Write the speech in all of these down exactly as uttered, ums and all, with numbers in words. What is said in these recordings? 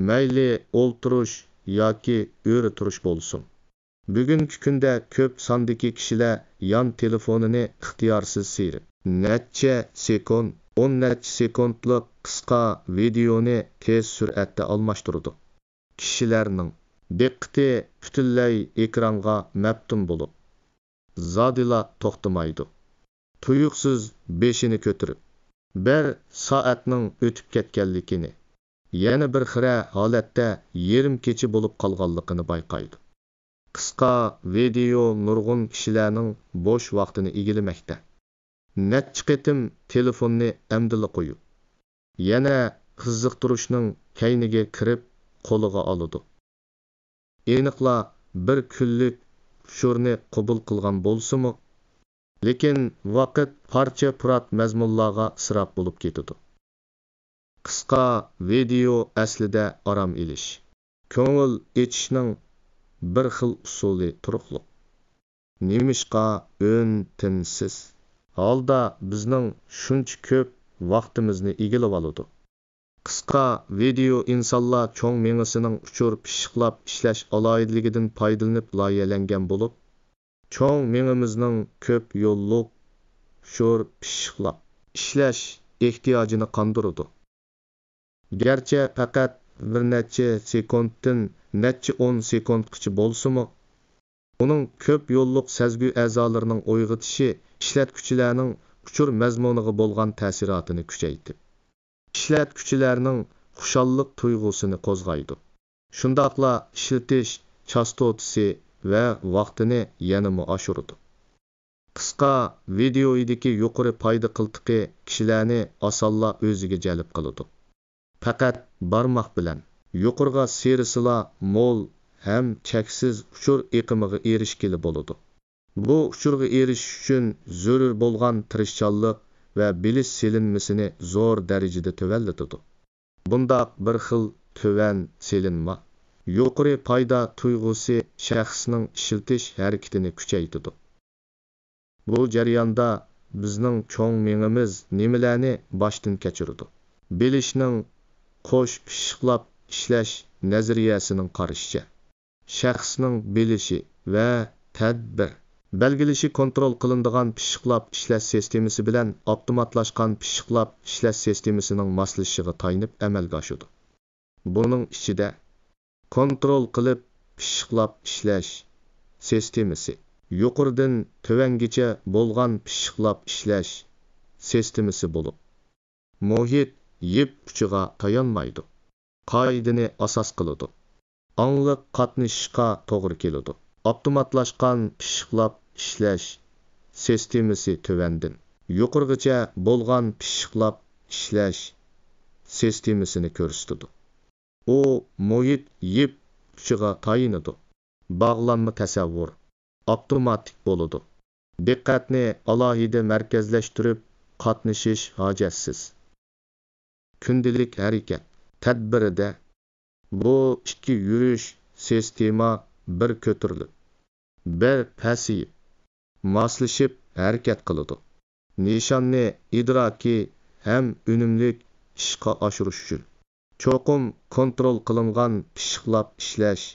مەيلى ئولتۇرۇش ياكى ئۆرە تۇرۇش بولسۇن. بۈگۈنكى كۈندە كۆپ ساندىكى كىشىلەر يان تېلېفونىنى ئىختىيارسىز سىيرىپ، نەچچە سېكۇنت، ئون نەچچە سېكۇنتلۇق قىسقا ۋىدېئونى تېز سۈرئەتتە ئالماشتۇرىدۇ. كىشىلەرنىڭ دىققىتى پۈتۈنلەي ئېكرانغا مەپتۇن بولۇپ، زادىلا توختىمايدۇ. تۇيۇقسىز بېشىنى كۆتۈرۈپ، بىر سائەتنىڭ ئۆتۈپ كەتكەنلىكىنى، يەنە بىر خىرە ھالەتتە يېرىم كېچە بولۇپ قالغانلىقىنى بايقايدۇ. قىسقا ۋىدېئو نۇرغۇن كىشىلەرنىڭ بوش ۋاقتىنى ئىگىلىمەكتە. نەچچە قېتىم تېلېفوننى ئەمدىلا قويۇپ، يەنە قىزىقتۇرۇشنىڭ كەينىگە كىرىپ قولىغا ئالىدۇ. ئېنىقلا بىر كۈنلۈك ئۇچۇرنى قوبۇل قىلغان بولسىمۇ، لېكىن ۋاقىت پارچە-پۇرات مەزمۇنلارغا ئىسراپ بولۇپ كېتىدۇ. قىسقا ۋىدېئو ئەسلىدە ئارام ئېلىش، كۆڭۈل ئېچىشنىڭ بىر خىل ئۇسۇلى تۇرۇقلۇق. نېمىشقا ئۈن-تىنسىز ھالدا بىزنىڭ شۇنچە كۆپ ۋاقتىمىزنى ئىگىلىۋالىدۇ؟ قىسقا ۋىدېئو ئىنسانلار چوڭ مېڭىسىنىڭ ئۇچۇر پىششىقلاپ ئىشلەش ئالاھىدىلىكىدىن پايدىلىنىپ لايىھەلەنگەن بولۇپ، چوڭ مېڭىمىزنىڭ كۆپ يوللۇق ئۇچۇر پىششىقلاپ ئىشلەش ئېھتىياجىنى قاندۇرىدۇ. گەرچە پەقەت بىر نەچچە سېكۇنتتىن نەچچە ئون سېكۇنتقىچە بولسىمۇ، ئۇنىڭ كۆپ يوللۇق سەزگۈ ئەزالىرىنىڭ ئويغىتىشى ئىشلەتكۈچىلەرنىڭ ئۇچۇر مەزمۇنىغا بولغان تەسىراتىنى كۈچەيتىپ، ئىشلەتكۈچىلەرنىڭ خۇشاللىق تۇيغۇسىنى قوزغايدۇ. شۇنداقلا ئىشلىتىش چاستوتىسى ۋە ۋاقتىنى يەنىمۇ ئاشۇرىدۇ. قىسقا ۋىدېئويدىكى يۇقىرى پايدا قىلتىقى كىشىلەرنى ئاسانلا ئۆزىگە جەلپ قىلىدۇ. پەقەت بارماق بىلەن يۇقىرىغا سىيرىسىلا مول ھەم چەكسىز ئۇچۇر ئېقىمىغا ئېرىشكىلى بولىدۇ. بۇ ئۇچۇرغا ئېرىشىش ئۈچۈن زۆرۈر بولغان تىرىشچانلىق ۋە بىلىش سېلىنمىسىنى زور دەرىجىدە تۆۋەنلىتىدۇ. بۇنداق بىر خىل تۆۋەن سېلىنما، يۇقىرى پايدا تۇيغۇسى شەخسنىڭ ئىشلىتىش ھەرىكىتىنى كۈچەيتىدۇ. بۇ جەرياندا بىزنىڭ چوڭ مېڭىمىز نېمىلەرنى باشتىن كەچۈرىدۇ؟ بىلىشنىڭ قوش پىششىقلاپ ئىشلەش نەزەرىيەسىنىڭ قارىشىچە، شەخسنىڭ بىلىشى ۋە تەدبىر بەلگىلىشى كونترول قىلىنىدىغان پىششىقلاپ ئىشلەش سىستېمىسى بىلەن ئاپتوماتلاشقان پىششىقلاپ ئىشلەش سىستېمىسىنىڭ ماسلىشىشىغا تايىنىپ ئەمەلگە ئاشىدۇ. بۇنىڭ ئىچىدە كونترول قىلىپ پىششىقلاپ ئىشلەش سىستېمىسى، يۇقىرىدىن تۆۋەنگىچە بولغان پىششىقلاپ ئىشلەش سىستېمىسى بولۇپ، مۇھىت يىپ ئۇچىغا تايانمايدۇ، قائىدىنى ئاساس قىلىدۇ. ئاڭلىق قاتنىشىشقا توغرا كېلىدۇ. ئاپتوماتلاشقان پىششىقلاپ ئىشلەش سىستېمىسى تۆۋەندىن يۇقىرىغىچە بولغان پىششىقلاپ ئىشلەش سىستېمىسىنى كۆرسىتىدۇ. ئۇ مۇھىت يىپ ئۇچىغا تايىنىدۇ. باغلانما تەسەۋۋۇر ئاپتوماتىك بولىدۇ. دىققەتنى ئالاھىدە مەركەزلەشتۈرۈپ قاتنىشىش ھاجەتسىز. كۈندىلىك ھەرىكەت تەدبىرىدە بۇ ئىككى يۈرۈش سىستېما بىر كۆتۈرۈلۈپ، بىر پەسىيىپ، ماسلىشىپ ھەرىكەت قىلىدۇ. نىشاننى ئىدراكىي ھەم ئۈنۈملۈك ئىشقا ئاشۇرۇش ئۈچۈن، چوقۇم كونترول قىلىنغان پىششىقلاپ ئىشلەش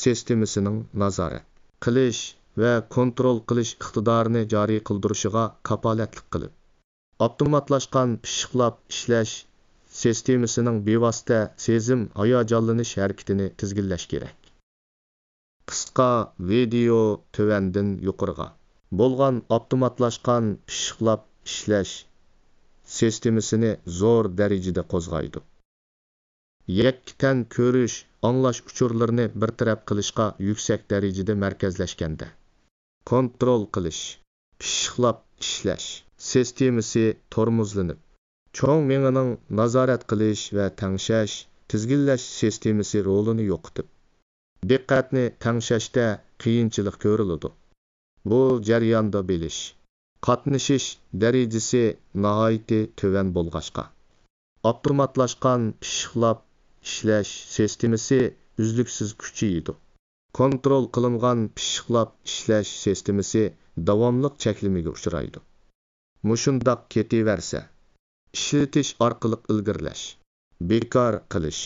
سىستېمىسىنىڭ نازارەت قىلىش ۋە كونترول قىلىش ئىقتىدارىنى جارى قىلدۇرۇشىغا كاپالەتلىك قىلىپ، ئاپتوماتلاشقان پىششىقلاپ ئىشلەش سىستېمىسىنىڭ بىۋاسىتە سېزىم ھاياجانلىنىش ھەرىكىتىنى تىزگىنلەش كېرەك. قىسقا ۋىدېئو تۆۋەندىن يۇقىرىغا بولغان ئاپتوماتلاشقان پىششىقلاپ ئىشلەش سىستېمىسىنى زور دەرىجىدە قوزغايدۇ. يەككە تەن كۆرۈش، ئاڭلاش ئۇچۇرلىرىنى بىر تەرەپ قىلىشقا يۈكسەك دەرىجىدە مەركەزلەشكەندە، كونترول قىلىش، پىششىقلاپ ئىشلەش سىستېمىسى تورمۇزلىنىپ، چوڭ مېڭىنىڭ نازارەت قىلىش ۋە تەڭشەش، تىزگىنلەش سىستېمىسى رولىنى يوقىتىپ، دىققەتنى تەڭشەشتە قىيىنچىلىق كۆرۈلىدۇ. بۇ جەرياندا بىلىش، قاتنىشىش دەرىجىسى ناھايىتى تۆۋەن بولغاچقا، ئاپتوماتلاشقان پىششىقلاپ ئىشلەش سىستېمىسى ئۈزلۈكسىز كۈچىيىدۇ. كونترول قىلىنغان پىششىقلاپ ئىشلەش سىستېمىسى داۋاملىق چەكلىمىگە ئۇچرايدۇ. مۇشۇنداق كېتىۋەرسە، ئىشلىتىش ئارقىلىق ئىلگىرىلەش، بىكار قىلىش،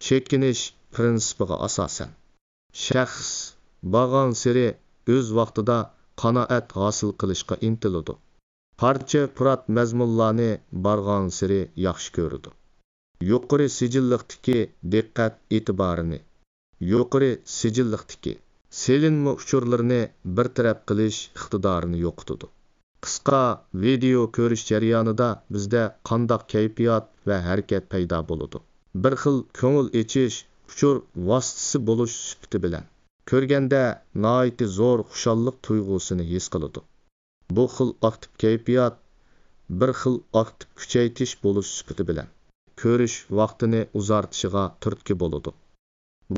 چېكىنىش پىرىنسىپىغا ئاساسەن، شەخس بارغانسېرى ئۆز ۋاقتىدا قانائەت ھاسىل قىلىشقا ئىنتىلىدۇ. پارچە پۇرات مەزمۇنلارنى بارغانسېرى ياخشى كۆرىدۇ. يۇقىرى سىجىللىقتىكى دىققەت ئېتىبارىنى، يۇقىرى سىجىللىقتىكى سېلىنما ئۇچۇرلىرىنى بىر تەرەپ قىلىش ئىقتىدارىنى يوقىتىدۇ. قىسقا ۋىدېئو كۆرۈش جەريانىدا بىزدە قانداق كەيپىيات ۋە ھەرىكەت پەيدا بولىدۇ؟ بىر خىل كۆڭۈل ئېچىش، ئۇچۇر ۋاسىتىسى بولۇش سۈپىتى بىلەن، كۆرگەندە ناھايىتى زور خۇشاللىق تۇيغۇسىنى ھېس قىلىدۇ. بۇ خىل ئاكتىپ كەيپىيات بىر خىل ئاكتىپ كۈچەيتىش بولۇش سۈپىتى بىلەن، كۆرۈش ۋاقتىنى ئۇزارتىشىغا تۈرتكە بولىدۇ.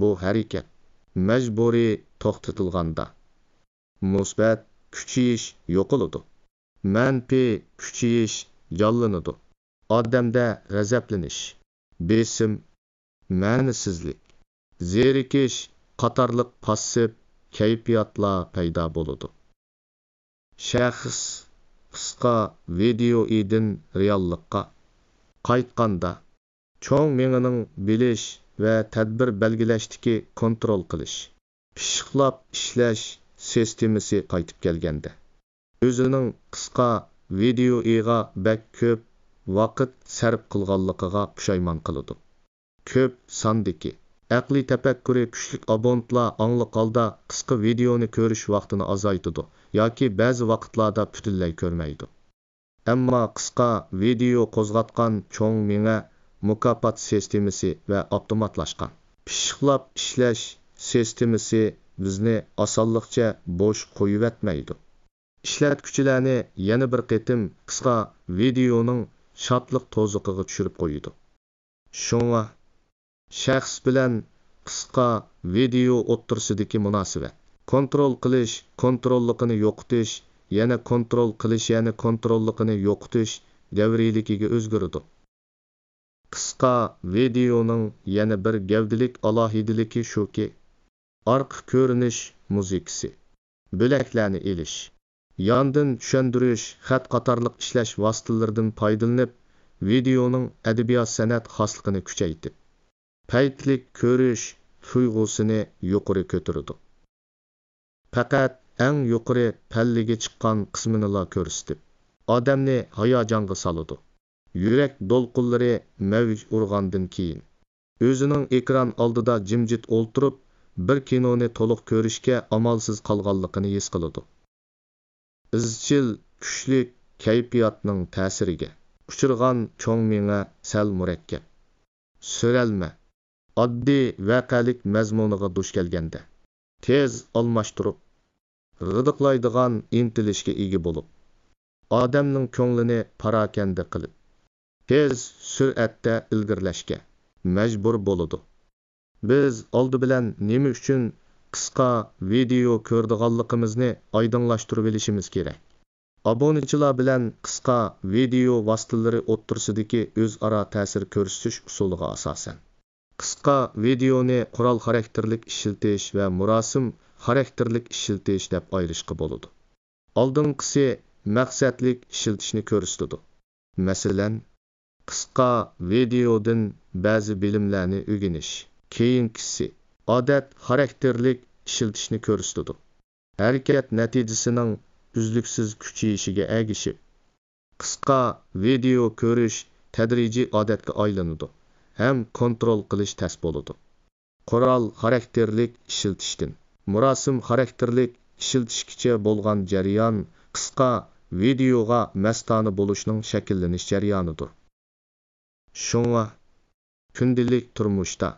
بۇ ھەرىكەت مەجبۇرىي توختىتىلغاندا، مۇسبەت كۈچىيىش يوقىلىدۇ، مەنپىي كۈچىيىش جانلىنىدۇ. ئادەمدە غەزەپلىنىش، بېسىم، مەنىسىزلىك، زېرىكىش قاتارلىق پاسسىپ كەيپىياتلار پەيدا بولىدۇ. شەخس قىسقا ۋىدېئوئىدىن رېئاللىققا قايتقاندا، چوڭ مېڭىنىڭ بىلىش ۋە تەدبىر بەلگىلەشتىكى كونترول قىلىش، پىششىقلاپ ئىشلەش سىستېمىسى قايتىپ كەلگەندە، ئۆزىنىڭ قىسقا ۋىدېئوئىغا بەك كۆپ ۋاقىت سەرپ قىلغانلىقىغا پۇشايمان قىلىدۇ. كۆپ ساندىكى، ئەقلىي تەپەككۇرى كۈچلۈك ئابونتلار ئاڭلىق ھالدا قىسقا ۋىدېئونى كۆرۈش ۋاقتىنى ئازايتىدۇ ياكى بەزى ۋاقىتلاردا پۈتۈنلەي كۆرمەيدۇ. ئەمما قىسقا ۋىدېئو قوزغاتقان چوڭ مېڭە مۇكاپات سىستېمىسى ۋە ئاپتوماتلاشقان پىششىقلاپ ئىشلەش سىستېمىسى بىزنى ئاسانلىقچە بوش قويۇۋەتمەيدۇ. ئىشلەتكۈچىلەرنى يەنە بىر قېتىم قىسقا ۋىدېئونىڭ شادلىق توزۇقىغا چۈشۈرۈپ قويىدۇ. شۇڭا، شەخس بىلەن قىسقا ۋىدېئو ئوتتۇرىسىدىكى مۇناسىۋەت، كونترول قىلىش كونتروللۇقىنى يوقىتىش، يەنە كونترول قىلىش يەنە كونتروللۇقىنى يوقىتىش دەۋرىيلىكىگە ئۆزگىرىدۇ. قىسقا ۋىدېئونىڭ يەنە بىر گەۋدىلىك ئالاھىدىلىكى شۇكى، ئارقا كۆرۈنۈش مۇزىكىسى، بۆلەكلەرنى ئېلىش، ياندىن چۈشەندۈرۈش، خەت قاتارلىق ئىشلەش ۋاسىتىلىرىدىن پايدىلىنىپ، ۋىدېئونىڭ ئەدەبىيات-سەنئەت خاسلىقىنى كۈچەيتىپ، پەيتلىك كۆرۈش تۇيغۇسىنى يۇقىرى كۆتۈرىدۇ. پەقەت ئەڭ يۇقىرى پەللىگە چىققان قىسمىنىلا كۆرسىتىپ، ئادەمنى ھاياجانغا سالىدۇ. يۈرەك دولقۇنلىرى مەۋج ئۇرغاندىن كېيىن، ئۆزىنىڭ ئېكران ئالدىدا جىمجىت ئولتۇرۇپ، بىر كىنونى تولۇق كۆرۈشكە ئامالسىز قالغانلىقىنى ھېس قىلىدۇ. ئىزچىل كۈچلۈك كەيپىياتنىڭ تەسىرىگە ئۇچرىغان چوڭ مېڭە سەل مۇرەككەپ، سۆرەلمە، ئاددىي ۋەقەلىك مەزمۇنىغا دۇچ كەلگەندە، تېز ئالماشتۇرۇپ، غىدىقلايدىغان ئىنتىلىشكە ئىگە بولۇپ، ئادەمنىڭ كۆڭلىنى پاراكەندە قىلىپ، تېز سۈرئەتتە ئىلگىرىلەشكە مەجبۇر بولىدۇ. بىز ئالدى بىلەن نېمە ئۈچۈن قىسقا ۋىدېئو كۆرىدىغانلىقىمىزنى ئايدىڭلاشتۇرۇۋېلىشىمىز كېرەك. ئابۇنىچىلار بىلەن قىسقا ۋىدېئو ۋاسىتىلىرى ئوتتۇرىسىدىكى ئۆزئارا تەسىر كۆرسىتىش ئۇسۇلىغا ئاساسەن، قىسقا ۋىدېئونى قورال خاراكتېرلىك ئىشلىتىش ۋە مۇراسىم خاراكتېرلىك ئىشلىتىش دەپ ئايرىشقا بولىدۇ. ئالدىنقىسى مەقسەتلىك ئىشلىتىشنى كۆرسىتىدۇ. مەسىلەن، قىسقا ۋىدېئودىن بەزى بىلىملەرنى ئۆگىنىش. كېيىنكىسى ئادەت خاراكتېرلىك ئىشلىتىشنى كۆرسىتىدۇ. ھەرىكەت نەتىجىسىنىڭ ئۈزلۈكسىز كۈچىيىشىگە ئەگىشىپ، قىسقا ۋىدېئو كۆرۈش تەدرىجىي ئادەتكە ئايلىنىدۇ ھەم كونترول قىلىش تەس بولىدۇ. قورال خاراكتېرلىك ئىشلىتىشتىن مۇراسىم خاراكتېرلىك ئىشلىتىشكىچە بولغان جەريان قىسقا ۋىدېئوغا مەستانە بولۇشنىڭ شەكىللىنىش جەريانىدۇر. شۇڭا، كۈندىلىك تۇرمۇشتا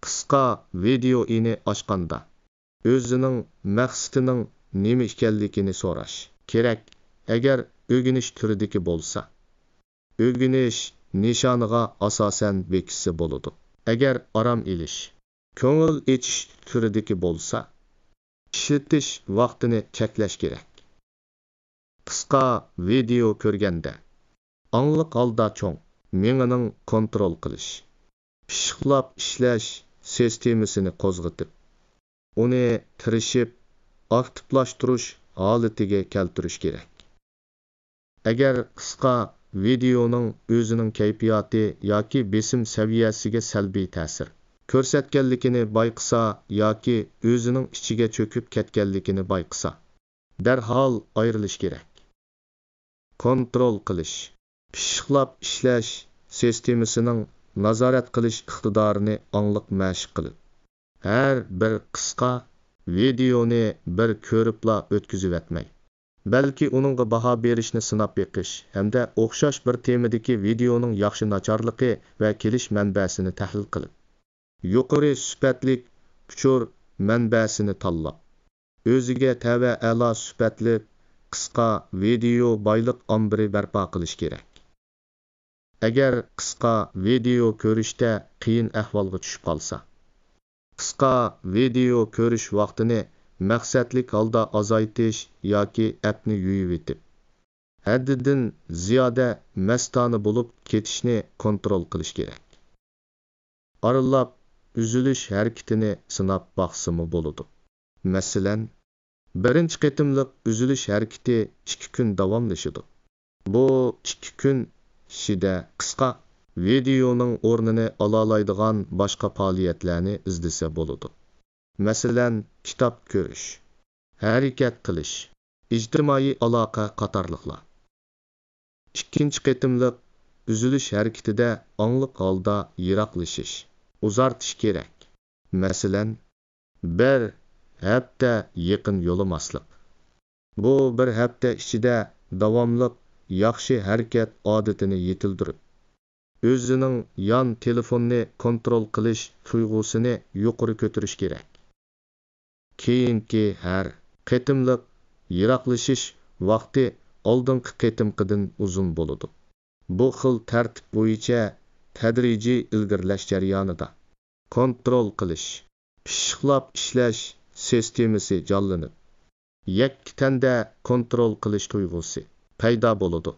قىسقا ۋىدېئوئىنى ئاچقاندا، ئۆزىنىڭ مەقسىتىنىڭ نېمە ئىكەنلىكىنى سوراش كېرەك. ئەگەر ئۆگىنىش تۈرىدىكى بولسا، ئۆگىنىش نىشانىغا ئاساسەن بېكىتسە بولىدۇ. ئەگەر ئارام ئېلىش، كۆڭۈل ئېچىش تۈرىدىكى بولسا، ئىشلىتىش ۋاقتىنى چەكلەش كېرەك. قىسقا ۋىدېئو كۆرگەندە، ئاڭلىق ھالدا چوڭ مېڭىنىڭ كونترول قىلىش، پىششىقلاپ ئىشلەش سىستېمىسىنى قوزغىتىپ، ئۇنى تىرىشىپ ئاكتىپلاشتۇرۇش ھالىتىگە كەلتۈرۈش كېرەك. ئەگەر قىسقا ۋىدېئونىڭ ئۆزىنىڭ كەيپىياتى ياكى بېسىم سەۋىيەسىگە سەلبىي تەسىر كۆرسەتكەنلىكىنى بايقىسا ياكى ئۆزىنىڭ ئىچىگە چۆكۈپ كەتكەنلىكىنى بايقىسا، دەرھال ئايرىلىش كېرەك. كونترول قىلىش. پىششىقلاپ ئىشلەش سىستېمىسىنىڭ نازارەت قىلىش ئىقتىدارىنى ئاڭلىق مەشىق قىلىڭ. ھەر بىر قىسقا ۋىدېئونى بىر كۆرۈپلا ئۆتكۈزۈۋەتمەي، بەلكى ئۇنىڭغا باھا بېرىشنى سىناپ بېقىش ھەمدە ئوخشاش بىر تېمىدىكى ۋىدېئونىڭ ياخشى ناچارلىقى ۋە كېلىش مەنبەسىنى تەھلىل قىلىڭ. يۇقىرى سۈپەتلىك ئۇچۇر مەنبەسىنى تاللاپ، ئۆزىگە تەۋە ئەلا سۈپەتلىك قىسقا ۋىدېئو بايلىق ئامبىرى بەرپا قىلىش كېرەك. ئەگەر قىسقا ۋىدېئو كۆرۈشتە قىيىن ئەھۋالغا چۈشۈپ قالسا، قىسقا ۋىدېئو كۆرۈش ۋاقتىنى مەقسەتلىك ھالدا ئازايتىش ياكى ئەپنى يۇيۇۋېتىپ، ھەددىدىن زىيادە مەستانە بولۇپ كېتىشنى كونترول قىلىش كېرەك. ئارىلاپ ئۈزۈلۈش ھەرىكىتىنى سىناپ باقسىمۇ بولىدۇ. مەسىلەن، بىرىنچى قېتىملىق ئۈزۈلۈش ھەرىكىتى ئىككى كۈن داۋاملىشىدۇ. بۇ ئىككى كۈن ئىچىدە قىسقا ۋىدېئونىڭ ئورنىنى ئالالايدىغان باشقا پائالىيەتلەرنى ئىزدىسە بولىدۇ. مەسىلەن، كىتاب كۆرۈش، ھەرىكەت قىلىش، ئىجتىمائىي ئالاقە قاتارلىقلار. ئىككىنچى قېتىملىق ئۈزۈلۈش ھەرىكىتىدە ئاڭلىق ھالدا يىراقلىشىش، ئۇزارتىش كېرەك. مەسىلەن، بىر ھەپتە يېقىن يولىماسلىق. بۇ بىر ھەپتە ئىچىدە داۋاملىق ياخشى ھەرىكەت ئادىتىنى يېتىلدۈرۈپ، ئۆزىنىڭ يان تېلېفوننى كونترول قىلىش تۇيغۇسىنى يۇقىرى كۆتۈرۈش كېرەك. كېيىنكى ھەر قېتىملىق يىراقلىشىش ۋاقتى ئالدىنقى قېتىمقىدىن ئۇزۇن بولىدۇ. بۇ خىل تەرتىپ بويىچە تەدرىجىي ئىلگىرىلەش جەريانىدا كونترول قىلىش، پىششىقلاپ ئىشلەش سىستېمىسى جانلىنىپ، يەككە تەندە كونترول قىلىش تۇيغۇسى پەيدا بولىدۇ.